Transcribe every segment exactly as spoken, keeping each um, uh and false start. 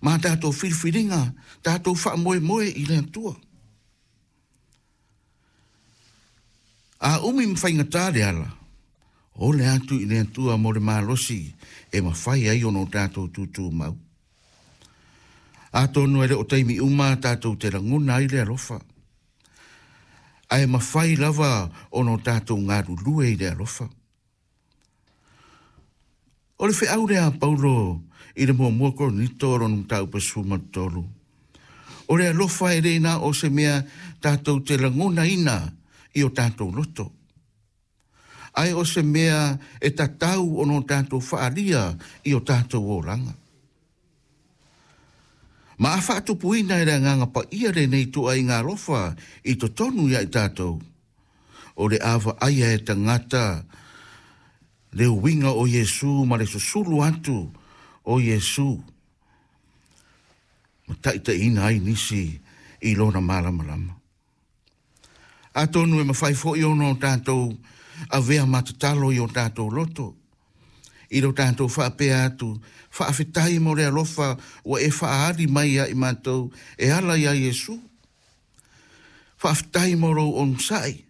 Ma tātou filifiliga, tātou faamoemoe i le Atua. A umi ma faigatā le ala, o le atu i le Atua mo le malosi e mafai ai ona o tātou tūtū mau. Atonu e le o taimi uma tātou te lagona ai le alofa. Ae mafai lava ona o tātou galulue i le alofa. O le feau lea a Paulo i le muamua Korinito o lona mataupu e sefulu ma tolu. O le alofa e le na o se mea tātou te lagonaina i o tātou loto. Ae o se mea e tatau ona o tātou faalia i o tātou olaga. Ma a faatupuina e le agaga paia lenei tuaiga alofa i totonu ia i tātou. O le a vaaia e tagata le uiga o Iesu ma le susulu atu o Iesu. Ma taitaiina ai nisi i lona malamalama. Atonu e mafai foi ona o tātou avea matatalo i o tātou loto. I lo tātou faapea atu, faafetai mo le alofa ua e faaali mai ia i matou e ala ia Iesu. Faafetai mo lou onosai.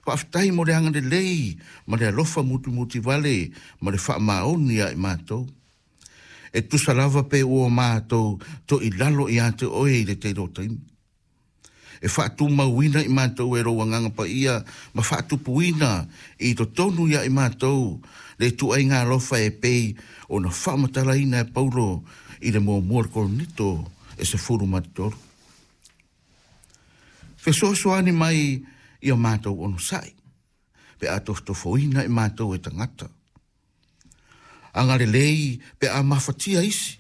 Faafetai mo le agalelei ma le alofa mutimuti vale ma le faamaoni ia i matou. E tusa lava pe ua matou to i lalo ia te oe i le tele o taimi. E faatumauina i matou e lou agaga paia ma faatupuina i totonu ia i matou le tuaiga alofa e pei ona faamatalaina e Paulo i le muamua o le Korinito e sefulu ma tolu. Fesoasoani mai i o matou onosai, pe a tofotofoina i matou e tagata. Agalelei pe a mafatia isi.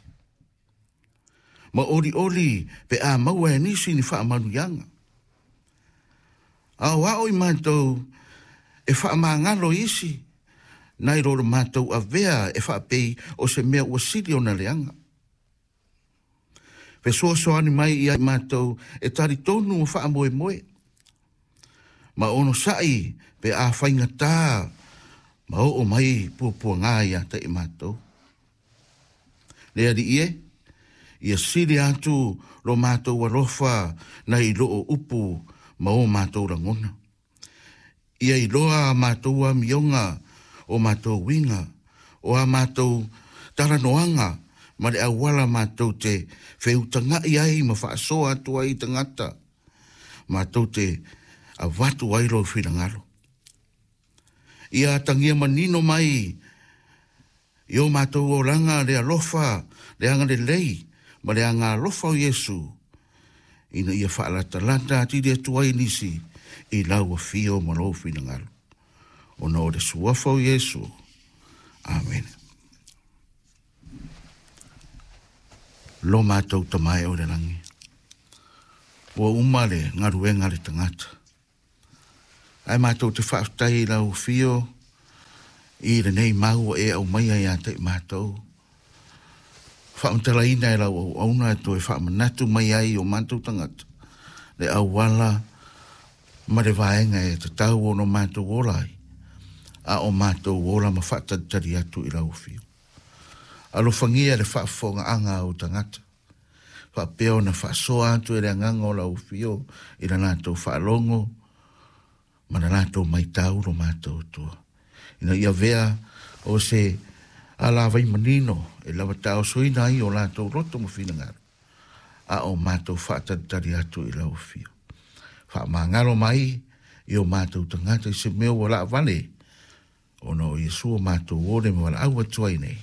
Ma olioli pe a maua e nisi ni faamanuiaga. Aoao i matou e faamagalo isi, nai lo le matou avea e faapei o se mea ua sili ona leaga. Fesoasoani mai ia i matou e talitonu ma faamoemoe. Ma onosai pe a faigatā ma oo mai puapuaga ia te i matou. Le Alii e, ia sili atu lo matou alofa nai loo upu ma o matou lagona. Ia iloa a matou amioga o matou uiga, o a matou talanoaga ma le auala matou te feutagai ai ma faasoa atu ai i tagata. Matou te avatu ai lou finagalo. Ia atagia manino mai i o matou olaga le alofa, le agalelei ma le agalofa o Iesu, ina ia faalatalata atili atu ai nisi i lau afio ma lou finagalo. Ona o le suafa o Iesu. Amen. Lo matou tamae o le lagi. Ua uma le galuega le tagata. Ae matou te faafetai i lau afio i lenei mau ua e aumaia ia te i matou. Faamatalaina e lau auauna e toe faamanatu mai ai o matou tagata. Le auala ma le vaega e tatau ona matou ola ai. A o matou ola ma faatalitali atu i lau afio. Alofagia le faafofogaaga a ou tagata. Faapea ona faasoa atu e le agaga o lau afio i le latou faalogo ma le latou maitau lo matou Atua. Ina ia avea o se alavai manino e lava taosoina ai o latou loto ma finagalo. A o matou faatalitali atu i lau afio. Faamagalo mai i o matou tagata i se mea ua laavale ona o Iesu o matou ole ma walaau atu ai nei.